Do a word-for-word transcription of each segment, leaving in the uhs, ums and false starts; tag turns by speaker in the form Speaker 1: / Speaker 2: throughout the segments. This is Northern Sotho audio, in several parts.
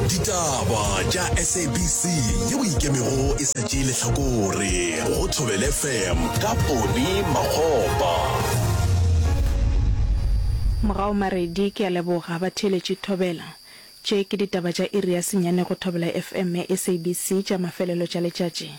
Speaker 1: Ditaba tša S A B C yeo ikemego e sa tšee lehlakore go Thobela F M ka Poni Makgopa.
Speaker 2: Mogau Maredi ke a leboga batheeletši Thobela. Tše ke ditaba tša iri ya senyane go Thobela F M ya S A B C tša mafelelo tša letšatši.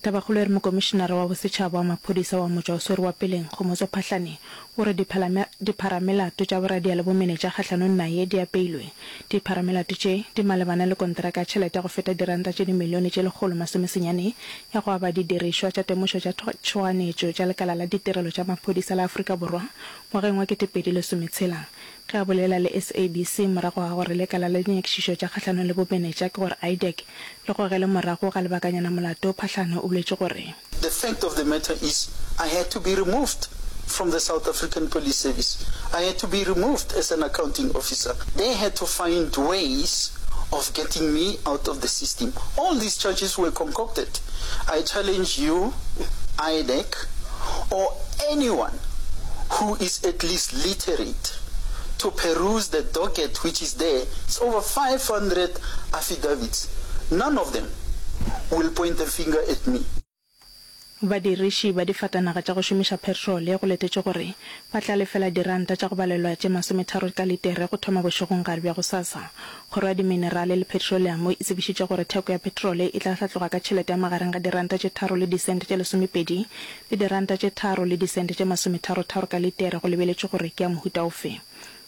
Speaker 2: Tabakgolo e re Mokomišenara wa Bosetšhaba wa Maphodisa wa Motšwa o swere wa peleng, Kgomotso Phahlane, o re dipharamelato tša boradia le bomenetša kgahlanong naye di apeilwe. Dipharamelato tše di malebana le konteraka ya tšhelete ya go feta diranta tše dimilione tše lekgolo masomesenyane ya go aba didirišwa tša temošo tša tšhoganetšo tša lekala la ditirelo tša maphodisa la Afrika Borwa ngwageng wa ketepedi lesometshela. Ge a bolela le S A B C morago ga gore lekala la dinyakišišo tša kgahlanong le bomenetša ke gore IDAC le gogele morago ga lebakanyana molato, Phahlane o boletše gore.
Speaker 3: The fact of the matter is I had to be removed from the South African Police Service. I had to be removed as an accounting officer. They had to find ways of getting me out of the system. All these charges were concocted. I challenge you, IDAC, or anyone who is at least literate to peruse the docket which is there. It's over five hundred affidavits. None of them will point a finger at me.
Speaker 2: Badiriši ba difatanaga tša go šomiša petrole go letetšwe gore ba tla lefela diranta tša go balelwa tše masometharo ka litere go thoma bošegong-gare bja gosasa. Kgoro ya Diminerale le Petroleamo e tsebišitše gore theko ya petrole e tla hlatloga ka tšhelete ya magareng ga diranta tše tharo le disente tše lesomepedi le diranta tše tharo le disente tše masometharo-tharo ka litere go lebeletšwe gore ke ya mohuta ofe.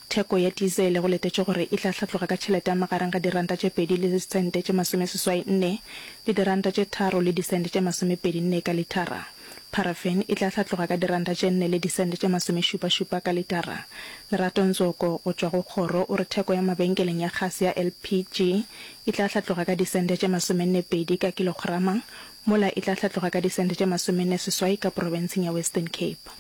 Speaker 2: Theko ya dizele go letetšwe gore e tla hlatloga ka tšhelete ya magareng ga diranta tše pedi le disente tše masomeseswai nne le diranta tše tharo le disente tše masomepedi nne ka litara. Paraffin e tla hlatloga ka diranta tše nne le disente tše masomešupa-šupa ka litara. Lerato Ntsoko go tšwa go kgoro o re theko ya mabenkeleng ya kgase ya L P G e tla hlatloga ka disente tše masomenne pedi ka kilograma, mola e tla hlatloga ka disente tše masomenne seswai ka profenseng ya Western Cape.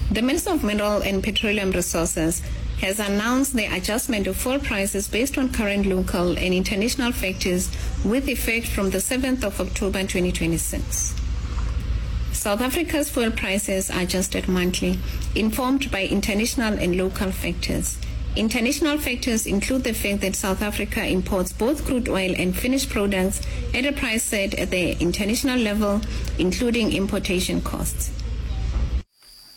Speaker 4: The Minister of Mineral and Petroleum Resources has announced the adjustment of fuel prices based on current local and international factors with effect from the seventh of October twenty twenty-six. South Africa's fuel prices are adjusted monthly, informed by international and local factors. International factors include the fact that South Africa imports both crude oil and finished products at a price set at the international level, including importation costs.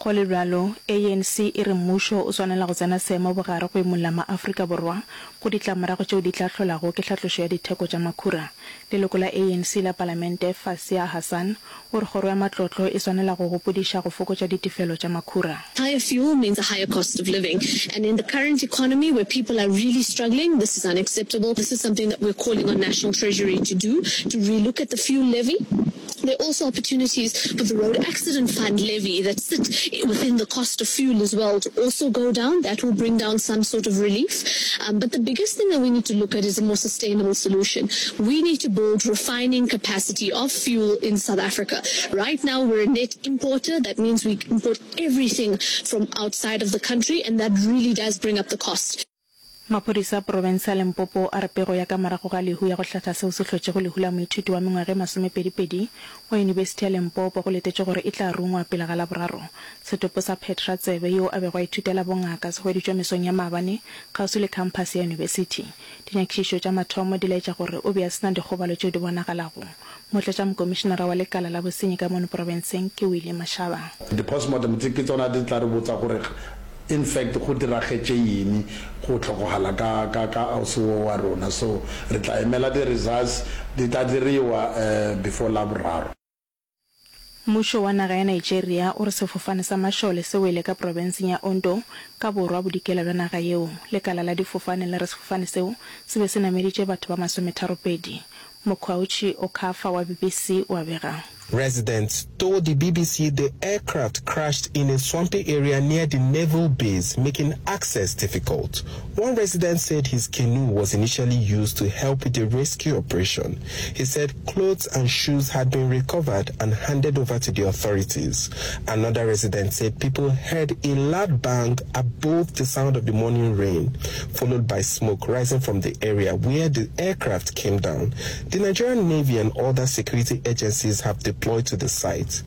Speaker 2: Go le bjalo, A N C e re mmušo o swanela go tsena seemo bogare go imolla maAfrika Borwa go ditlamorago tšeo di tla hlolago ke hlatlošo ya ditheko tša makhura. Leloko la A N C la Palamente Fasiha Hassan o re kgoro ya matlotlo e swanela go gopodiša go fokotša ditefelo tša makhura.
Speaker 5: Higher fuel means a higher cost of living, and in the current economy where people are really struggling, this is unacceptable. This is something that we're calling on National Treasury to do, to relook at the fuel levy. There are also opportunities for the Road Accident Fund levy that sit within the cost of fuel as well to also go down. That will bring down some sort of relief. Um, but the biggest thing that we need to look at is a more sustainable solution. We need to build refining capacity of fuel in South Africa. Right now, we're a net importer. That means we import everything from outside of the country, and that really does bring up the cost.
Speaker 2: Maphodisa a profense ya Limpopo a re pego ya ka morago ga lehu ya go hlatha seo se hlotšego lehu la moithuti wa mengwaga e masomepedipedi wa Yunibesithi ya Limpopo go letetšwe gore e tla rungwa pele ga Laboraro. Setopo sa Petra Tsebe yo a bego a ithutela bongaka se hweditšwe mesong ya maabane kgauswi le khamphase ya yunibesithi. Dinyakišišo tša mathomo di laetša gore o be a se na dikgobalo tšeo di bonagalago. Motlatšamokomišenara wa lekala la bosenyi ka mono profenseng ke Willie Mashaba.
Speaker 6: Di-postmortem tse ke tsona di tla re botsa gore in fact go diragetše eng go hlokogala ka ka ka ausi wo wa rona, so re tla emela di-results di tla diriwa uh, before Laboraro.
Speaker 2: Mmušo wa naga ya Nigeria o re sefofane sa mašole se wele ka profenseng ya Ondo ka borwa bodikela bja naga yeo. Lekala la difofane le re sefofane seo se be se nameditše batho ba masometharopedi. Mokgwautši Okafa wa B B C o a bega.
Speaker 7: Residents told the B B C the aircraft crashed in a swampy area near the naval base, making access difficult. One resident said his canoe was initially used to help with the rescue operation. He said clothes and shoes had been recovered and handed over to the authorities. Another resident said people heard a loud bang above the sound of the morning rain, followed by smoke rising from the area where the aircraft came down. The Nigerian Navy and other security agencies have deployed to the site.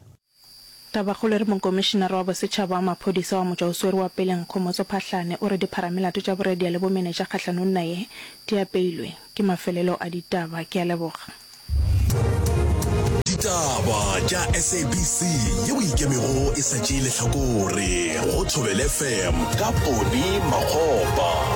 Speaker 2: Tabakgolo e re Mokomišinara wa Bosetšhaba wa Maphodisa wa Motšwaoswere wa Peleng Khomotso Phahlane o re dipharamelato tša boradia le bomenetša kgahlanong naye di apeilwe. Ke mafelelo a ditaba. Ke a leboga.
Speaker 1: Ditaba tša S A B C yeo e ikemego e sa tšee lehlakore go Thobela F M ka Poni Makgopa.